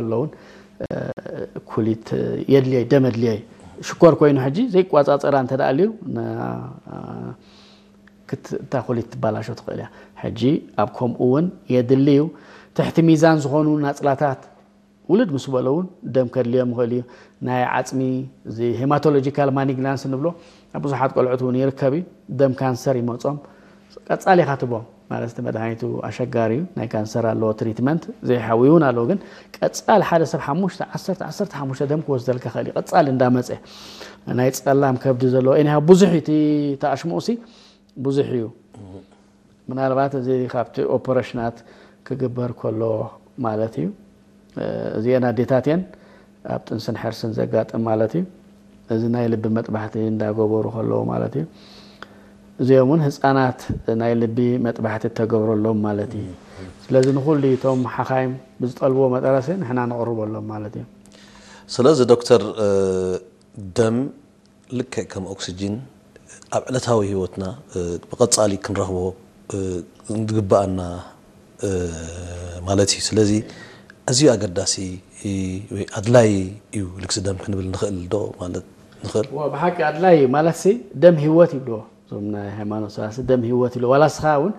ኣለውን ኩሊት የድልየ ደም የድልየ ሽኮር ኮይኑ ሕጂ ዘይቋፃፀራ እንተ ደኣ ኣልዩ ክት- እታ ኩሊት ትባላሾ ትኽእል እያ። ሕጂ ኣብ ከምኡ እውን የድሊ እዩ። ትሕቲ ሚዛን ዝኾኑ ናፅላታት ውልድ ምስ በለ እውን ደም ከድልዮም ይኽእል እዩ። ናይ ዓፅሚ ሄማቶሎጂካል ማኒግናንስ ንብሎ ኣብ ብዙሓት ቆልዑት እውን ይርከብ እዩ። ደም ካንሰር ይመፆም ቀፃሊ ኢኻ ትቦም ማለት እቲ መድሃኒቱ ኣሸጋሪ እዩ። ናይ ካንሰር ኣለዎ ትሪትመንት ዘይሓዊ እውን ኣለዎ። ግን ቀፃሊ ሓደ ሰብ ሓሙሽተ ዓሰርተ ዓሰርተ ሓሙሽተ ደም ክወስደልካ ኽእል እዩ። ቀፃሊ እንዳመፀ ናይ ፀላም ከብዲ ዘለዎ ኒሃ ብዙሕ እዩ እቲ ተኣሽሙኡ ሲ ብዙሕ እዩ። ምናልባት እዚ ካብቲ ኦፐረሽናት ክግበር ከሎ ማለት እዩ። እዚአን ኣዴታት እየን ኣብ ጥንስን ሕርስን ዘጋጥም ማለት እዩ። እዚ ናይ ልቢ መጥባሕቲ እንዳገበሩ ከለዉ ማለት እዩ። እዚኦም እውን ህፃናት ናይ ልቢ መጥባሕቲ ተገብረሎም ማለት እዩ። ስለዚ ንኩሉ እቶም ሓኻይም ብዝጠልብዎ መጠረሲ ንሕና ነቕርበሎም ማለት እዩ። ስለዚ ዶክተር ደም ልክዕ ከም ኦክስጅን ኣብ ዕለታዊ ህይወትና ብቐጻሊ ክንረኽቦ ዝግብኣና ማለት እዩ። ስለዚ ኣዝዩ ኣገዳሲ ወይ ኣድላይ እዩ ልግሲ ደም ክንብል ንኽእል ዶ ማለት ንኽእል? ብሓቂ ኣድላይ እዩ ማለት ሲ ደም ህይወት ይብልዎ እዞም ናይ ሃይማኖት ሰባት ደም ህይወት ይብልዎ። ዋላ ስኻ እውን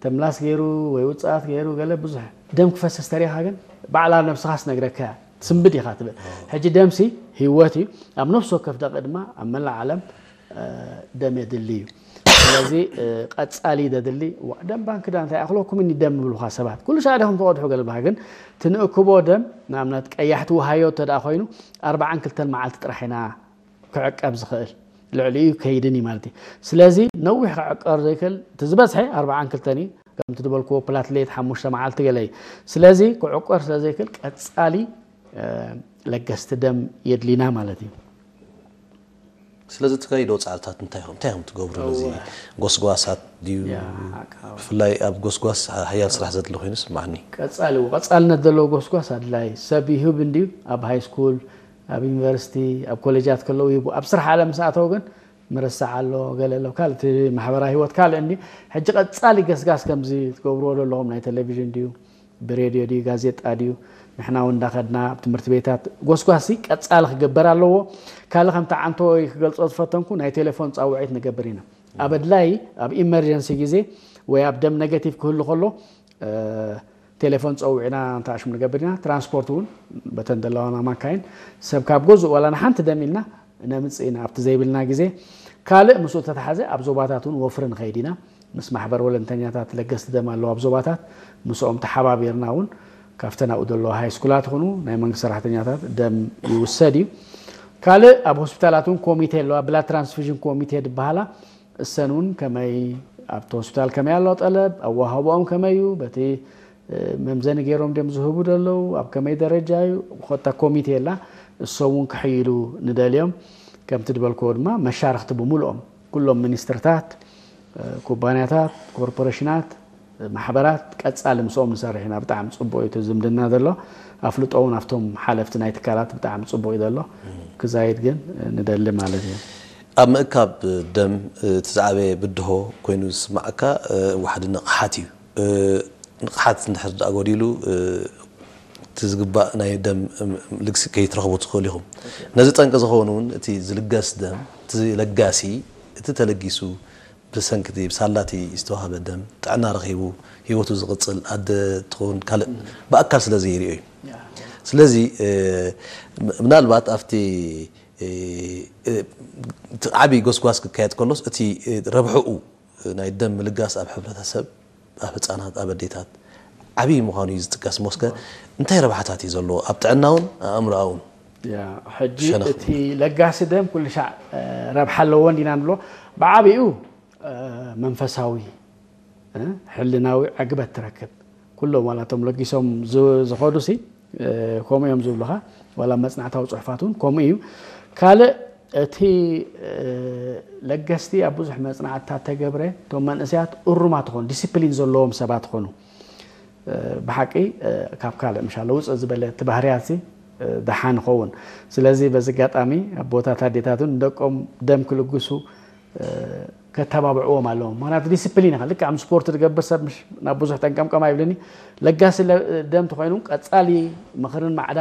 ተምላስ ገይሩ ወይ ውፅኣት ገይሩ ገለ ብዙሕ ደም ክፈስስ ተሪኻ ግን ባዕላ ነብስኻ ስነግረካ ትስንብድ ኢኻ ትብል። ሕጂ ደምሲ ህይወት እዩ። ኣብ ነፍሲ ወከፍ ደቂ ድማ ኣብ መላእ ዓለም ደም የድሊ እዩ። ስለዚ ቀጻሊ ደድሊ ደም ባንክ ዳ እንታይ ኣኽለኩም እኒ ደም ይብሉኻ ሰባት ኩሉ ሻዕ ዲኹም ትቐድሑ ገለ ብሃ ግን ትንእክቦ ደም ንኣብነት ቀያሕቲ ውሃዮ እንተ ደኣ ኮይኑ ኣርባዓን ክልተን መዓልቲ ጥራሕ ኢና ክዕቀብ ዝኽእል ልዕሊኡ ከይድን እዩ ማለት እዩ። ስለዚ ነዊሕ ክዕቀር ዘይክእል እቲ ዝበዝሐ ኣርባዓን ክልተን እዩ። ከምቲ ዝበልክዎ ፕላትሌት ሓሙሽተ መዓልቲ ገለ እዩ። ስለዚ ክዕቆር ስለ ዘይክእል ቀጻሊ ለገስቲ ደም የድሊና ማለት እዩ። ስለዚ ትካይዶ ጻዕርታት እንታይ ኢኹም እንታይ ኢኹም ትገብሩ ነዚ ጎስጓሳት ድዩ? ብፍላይ ኣብ ጎስጓስ ሓያል ስራሕ ዘድሊ ኮይኑ ስማዕኒ። ቀጻሊ ቀጻልነት ዘለዎ ጎስጓስ ኣድላይ ሰብ ይህብ እንድዩ ኣብ ሃይ ስኩል ኣብ ዩኒቨርሲቲ ኣብ ኮሌጃት ከለዉ ይህቡ ኣብ ስራሕ ዓለም ምስ ኣተው ግን ምርሳዕ ኣሎ ገለ ኣሎ ካልእ እቲ ማሕበራዊ ህይወት ካልእ እንዲ ሕጂ ቀጻሊ ገስጋስ ከምዚ ትገብርዎ ዘለኹም ናይ ቴሌቪዥን ድዩ ብሬድዮ ድዩ ጋዜጣ ድዩ ንሕና እውን እንዳኸድና ኣብ ትምህርቲ ቤታት ጎስጓሲ ቀጻሊ ክግበር ኣለዎ ካልእ ከምቲ ዓንቶ ክገልጾ ዝፈተንኩ ናይ ቴሌፎን ጻውዒት ንገብር ኢና ኣብ ኣድላይ ኣብ ኢመርጀንሲ ግዜ ወይ ኣብ ደም ኔጋቲቭ ክህሉ ከሎ ቴሌፎን ጸዊዕና እንተ ኣሽሙ ንገብር ኢና ትራንስፖርት እውን በተን ዘለዋና ማካይን ሰብ ካብ ገዝኡ ዋላ ንሓንቲ ደም ኢልና ነምጽእ ኢና ኣብቲ ዘይብልና ግዜ ካልእ ምስኡ ተተሓዘ ኣብ ዞባታት እውን ወፍሪ ንኸይድ ኢና ምስ ማሕበር ወለንተኛታት ለገስቲ ደም ኣለዉ ኣብ ዞባታት ምስኦም ተሓባቢርና እውን ካብተን ኣብኡ ዘለዋ ሃይስኩላት ይኹኑ ናይ መንግስቲ ሰራሕተኛታት ደም ይውሰድ እዩ ካልእ ኣብ ሆስፒታላት እውን ኮሚቴ ኣለዋ ብላድ ትራንስፊዥን ኮሚቴ ዝበሃላ እሰን እውን ከመይ ኣብቲ ሆስፒታል ከመይ ኣሎ ጠለብ ኣወሃቦኦም ከመይ እዩ በቲ መምዘኒ ገይሮም ድም ዝህቡ ደለዉ ኣብ ከመይ ደረጃ እዩ ኮታ ኮሚቴ የላ እሶም እውን ክሕይሉ ንደልዮም ከምቲ ድበልክዎ ድማ መሻርክቲ ብምልኦም ኩሎም ሚኒስትርታት ኩባንያታት ኮርፖሬሽናት ማሕበራት ቀፃሊ ምስኦም ንሰርሕ ኢና ብጣዕሚ ፅቡቅ እዩ ዝምድና ዘሎ ኣፍልጦ እውን ኣብቶም ሓለፍቲ ናይ ትካላት ብጣዕሚ ፅቡቅ እዩ ዘሎ ክዛይድ ግን ንደሊ ማለት እዩ ኣብ ምእካብ ደም እቲ ዝዓበየ ብድሆ ኮይኑ ዝስማዓካ ዋሕዲ ንቕሓት እዩ። ንቕሓት እንድሕር ደኣ ጎዲሉ እቲ ዝግባእ ናይ ደም ልግሲ ከይትረኽቡ ትኽእሉ ኢኹም። ነዚ ጠንቂ ዝኸውን እውን እቲ ዝልገስ ደም እቲ ለጋሲ እቲ ተለጊሱ ብሰንኪ እቲ ብሳላቲ ዝተዋህበ ደም ጥዕና ረኺቡ ህይወቱ ዝቕፅል ኣደ ትኸውን ካልእ ብኣካል ስለ ዘይሪኦ እዩ። ስለዚ ምናልባት ኣብቲ ዓብዪ ጎስጓስ ክካየድ ከሎስ እቲ ረብሕኡ ናይ ደም ምልጋስ ኣብ ሕብረተሰብ ኣብ ህፃናት ኣብ ኣዴታት ዓብዪ ምዃኑ እዩ ዝጥቀስ ሞስከ እንታይ ረብሓታት እዩ ዘለዎ ኣብ ጥዕናውን ኣእምሮኣውን ሕጂ እቲ ለጋሲ ደም ኩሉ ሻዕ ረብሓ ኣለዎ እንዲና ንብሎ ብዓብኡ መንፈሳዊ ሕልናዊ ዕግበት ትረክብ ኩሎም ዋላቶም ለጊሶም ዝኸዱ ሲ ከምኡ እዮም ዝብሉኻ ዋላ መፅናዕታዊ ፅሑፋት እውን ከምኡ እዩ ካልእ እቲ ለገስቲ ኣብ ብዙሕ መፅናዕትታት ተገብረ እቶም መንእሰያት እሩማት ዝኾኑ ዲስፕሊን ዘለዎም ሰባት ኾኑ ብሓቂ ካብ ካልእ ምሻለ ውፅእ ዝበለ እቲ ባህርያት ደሓን ይኸውን ስለዚ በዚ ኣጋጣሚ ኣቦታት ኣዴታትን ደቆም ደም ክልግሱ ከተባብዕዎም ኣለዎም ምክንያቱ ዲስፕሊን ኢኻ ልክዕ ከም ስፖርት ዝገብር ሰብ ናብ ብዙሕ ጠንቀምቀም ኣይብልኒ ለጋሲ ደም ተኮይኑ ቀፃሊ ምኽርን ማዕዳን